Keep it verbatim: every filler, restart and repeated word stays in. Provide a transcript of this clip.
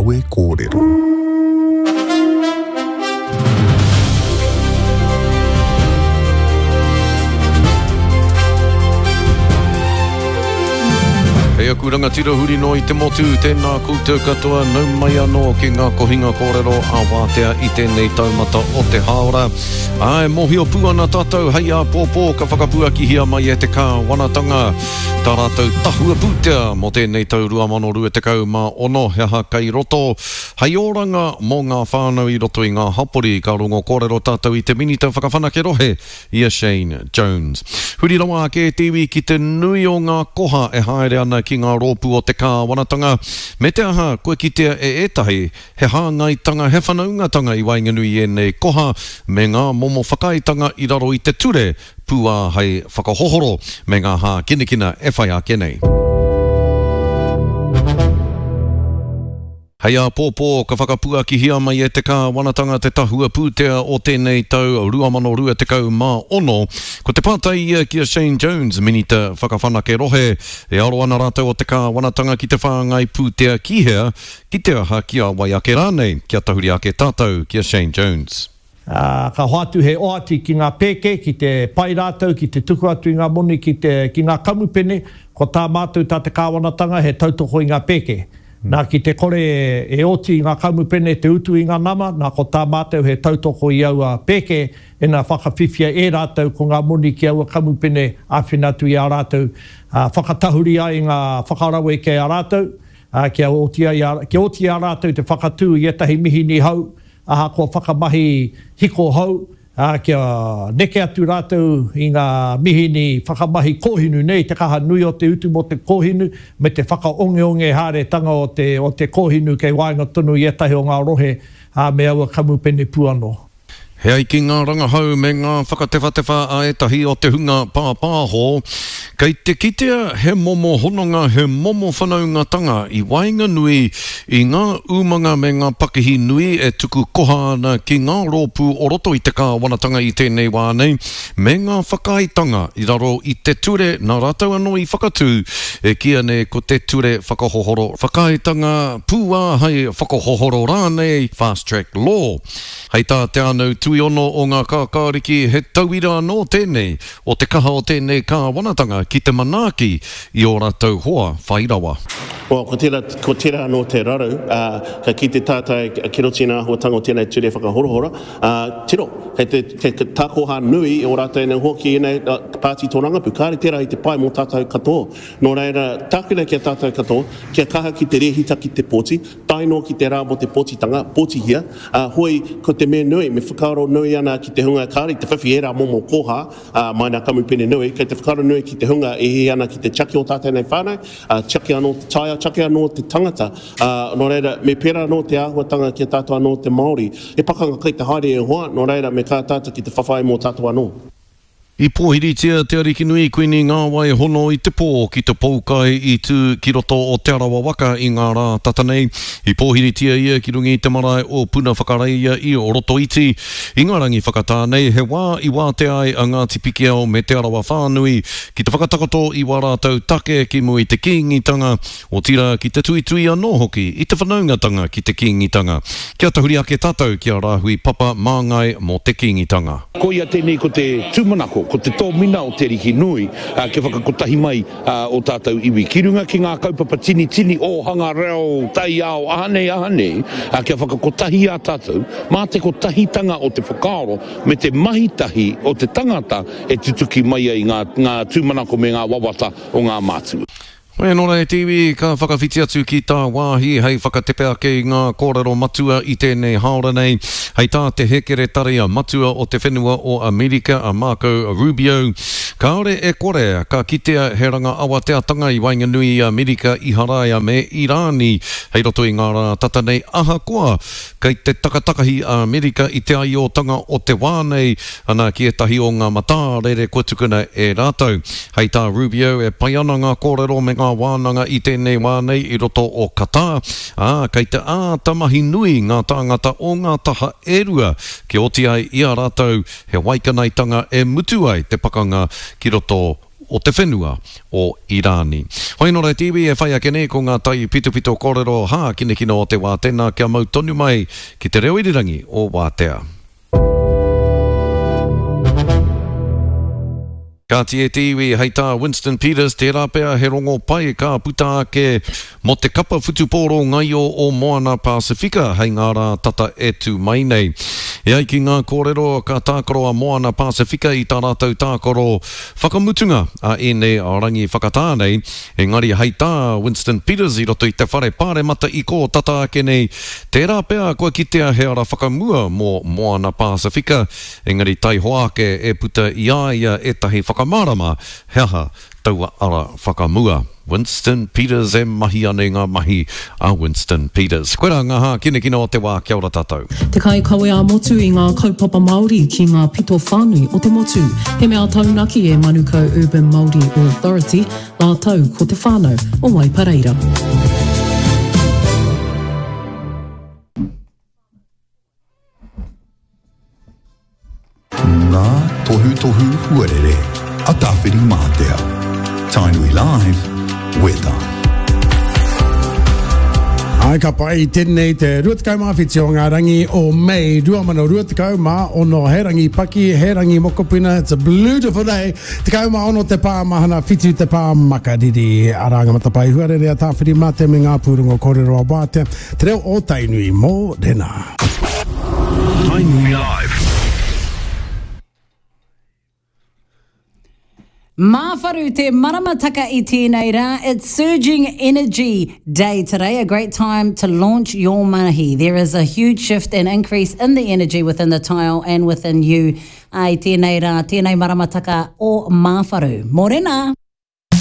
Kawe Kōrero. Hei aku rangatira huri noa i te motu, tēnā koutou katoa, nau mai anō ki ngā kohinga kōrero a Wātea i tēnei taumata o te hāora. Āe, mōhio pū ana tātou hei āpōpō ka whakapuakihia mai e te kāwanatanga tā rātou tahua pūtea mō tēnei tau rua mano rua tekau mā ono, he aha kei roto hei oranga mō ngā whānau i roto i ngā hapori. Ka rongo kōrero tātou i te Minita Whakawhanake Rohe, i a Shane Jones. Huri rawa ake e te iwi ki te nui o ngā koha e haere ana ki ngā rōpū o te kāwanatanga, me te aha kua kitea e ētahi he hāngaitanga, he whanaungatanga i waenganui i ēnei koha me ngā momo whakaaetanga i raro i te ture pūāhei whakahohoro me ngā hākinakina e whai ake nei. Hei āpōpō ka whakapuakihia mai e te kāwanatanga te tahua pūtea o tēnei tau rua mano rua tekau mā ono. Ko te pātai ia ki a Shane Jones, Minita Whakawhanake Rohe, e aro ana rātou o te kāwanatanga ki te whāngai pūtea ki hea, ki te aha, ki a wai ake rānei, kia tahuri ake tātou ki a Shane Jones. Ā, ka hoatu he oati ki ngā pēke, ki te pai rātou, ki te tuku atu i ngā moni ki te, ki ngā kamupene, ko tā mātou, tā te kāwanatanga, he tautoko i ngā pēke. Nā, ki te kore e oti i ngā kamupene te utu i ngā nama, nā, ko tā mātou he tautoko i aua pēke, ina whakawhiwhia e rātou ko ngā moni ki aua kamupene āwhina atu i a rātou, ā, whakatahuri ai i ngā whakarawe kei a rātou, ā, kia oti ai a, kia oti i a rātou te whakatū i ētahi mihini hou, ahakoa whakamahi hiko hou, ā, kia neke atu rātou i ngā mihini whakamahi kōhinu nei, te kaha nui o te utu mō te kōhinu, me te whakaongeonge haeretanga o te, o te kōhinu kei waenga tonu i ētahi o ngā rohe, ā, me aua kamupene pū anō. He ai ki ngā rangahau me ngā whakatewhatewha a ētahi o te hunga pāpāho, kei te kitea he momo hononga, he momo whanaungatanga i waenganui i ngā umanga me ngā pakihi nui e tuku koha ana ki ngā rōpū o roto i te kāwanatanga i tēnei wā nei, me ngā whakaaetanga i raro i te ture nā rātou anō i whakatū, e kīia nei ko te Ture Whakahohoro Whakaaetanga Pūāhei Whakahohoro rānei, Fast Track Law. Hei tā Te Ānau Tuiono o Ngā Kākāriki, he tauira anō tēnei o te kaha o tēnei kāwanatanga ki te manaaki i ō rātou hoa whai rawa. Well, ko tērā, ko tērā anō te raru, ā, ka kite tātou ki roto i ngā āhuatanga o tēnei ture whakahorohoro, ā, tiro, kei te, kei te takoha nui o rātou nei hoa ki ēnei pāti tōrangapū. Kāre tērā i te pai mō tātou katoa. Nō reira, tākina ki a tātou katoa, kia kaha ki te rēhita ki te pōti, tae noa ki te rā mō te pōtitanga, pōtihia, ā, hoi, ko te mea nui, me whakaaro nui ana ki te hunga kāore i te whiwhi ērā momo koha, ā, mai nā kamupene nui, kei te whakaaro nui ki te hunga e hiahia ana ki te tiaki o tātou nei whānau, ā, tiaki anō te taiao, tiaki anō te tangata, ā, nō reira, me pērā anō te āhuatanga ki a tātou anō te Māori. He pakanga kai te haere e hoa, nō reira, me kaha tātou ki te whawhai mō tātou anō. I pōhiritia te Arikinui Kuini Ngāwai Hono i te pō ki te poukai i tū ki roto o Te Arawa waka i ngā rā tata nei. I pōhiritia ia ki runga i te marae o Puna Whakareia i Rotoiti. I ngā rangi whakatā nei, he wā i wātea ai a Ngāti Pikiao me Te Arawa whānui ki te whakatakoto i wā rātou take ki mua i te Kīngitanga, otirā ki te tuitui anō hoki i te whanaungatanga ki te Kīngitanga. Kia tahuri ake tātou ki a Rāhui Papa Māngai mō te Kīngitanga. Koia tēnei ko te tūmanako, ko te tōmina o Te Ariki Nui kia whakakotahi mai ō tātou iwi ki runga ki ngā kaupapa tinitini, ōhanga, reo, taiao, aha nei, aha nei, kia whakakotahi i a tātou mā te kotahitanga o te whakaaro me te mahi tahi o te tangata e tutuki mai ai ngā tūmanako me ngā wawata o ngā mātua. Hoi anō rā e te iwi, ka whakawhiti atu ki tāwāhi hei whakatepe ake i ngā kōrero matua i tēnei hāora nei. Hei tā te Hēkeretari Matua o te Whenua o Amerika a Marco Rubio, kāore e kore ka kitea he ranga awateatanga i waenganui i Amerika, Iharaia me Irāni hei roto i ngā rā tata nei ahakoa kei te takatakahi a Amerika i te aiotanga o te wā nei, ana ki ētahi o ngā matārere kua tukuna e rātou. Hei tā Rubio, e pai ana ngā kōrero me ngā wānanga i tēnei wā nei i roto o Qatar, ā, kei te āta mahi nui ngā tāngata o ngā taha e rua kia oti ai i a rātou he waikanaetanga e mutu ai te pakanga ki roto o te whenua o Irāni. Hoi anō rā te iwi e whai ake nei ko ngā taipitopito kōrero hākinakina o te wā tēnā kia mau tonu mai ki te reo irirangi o Wātea. Kāti e te iwi, hei tā Winston Peters, tērā pea he rongo pai ka puta ake mō te kapa whutupōro ngaio o Moana Pasifika hei ngā rā tata e tū mai nei. E ai ki ngā kōrero, ka tākaro a Moana Pasifika i tā rātou tākaro whakamutunga a ēnei rangi whakatā nei, engari hei tā Winston Peters i roto i te whare pāremata i kō tata ake nei, tērā pea kua kitea he ara whakamua mō Moana Pasifika, engari taihoa ake e puta i a ia ētahi whakamārama he aha taua ara whakamua. Winston Peters e mahi ana i ngā mahi a Winston Peters. Koirā ngā hākinakina o te wā, kia ora tātou. Te kaikawe ā-motu i ngā kaupapa Māori ki ngā pito whānui o te motu. He mea taunaki e Manukau Urban Māori Authority rātou ko te whānau o Waipareira. Ngā tohutohu huarere a Tāwhirimātea. Tainui Live, Weather. Ai ka pai tēnei te rua tekau mā whitu o ngā rangi o Mei rua mano rua tekau mā ono. He rangi paki, he rangi mokopuna, it's a beautiful day. Tekau mā ono te pā mahana, whitu te pā makariri. Arā ngā matapae huarere a Tāwhirimātea me ngā pūrongo kōrero a Wātea. Te reo o Tainui, mōrena. Tainui Live. Māwharu te maramataka i tēnei rā. It's Surging Energy Day today, a great time to launch your mahi. There is a huge shift and increase in the energy within the tile and within you. I tēnei rā, tēnei maramataka o Māwharu. Mōrena!